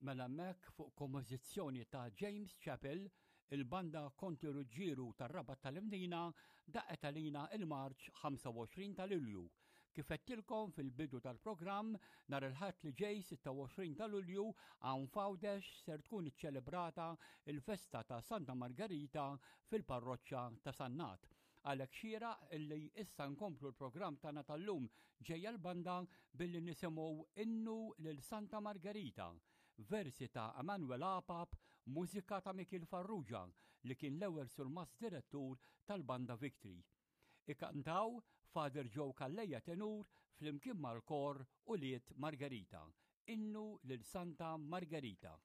Mela hemmhekk fuq kompożizzjoni ta' James Chappell, il-banda Konti Ruġġieru tar-Rabat tal-Imdina daqqet għalina il-marċ 25 ta' Lulju. Kif għedtilkom fil-bidu tal-programm, nhar il-Ħadd li ġej 26 ta' Lulju hawn f'Għawdex ser tkun iċċelebrata l-festa ta' Santa Margerita fil-parroċċa ta' Sannat. Għalhekk xieraq illi issa nkomplu l-programm tagħna tal-lum ġejja l-banda billi nisimgħu Innu lil Santa Margerita, versi ta' Emanuel Apap, mużika ta' Mikiel Farrugia li kien l-ewwel surmast direttur tal-Banda Victory. Ikantaw Father Joe Calleja tenur flimkien mal-kor Ulied Margerita. Innu lil Santa Margerita.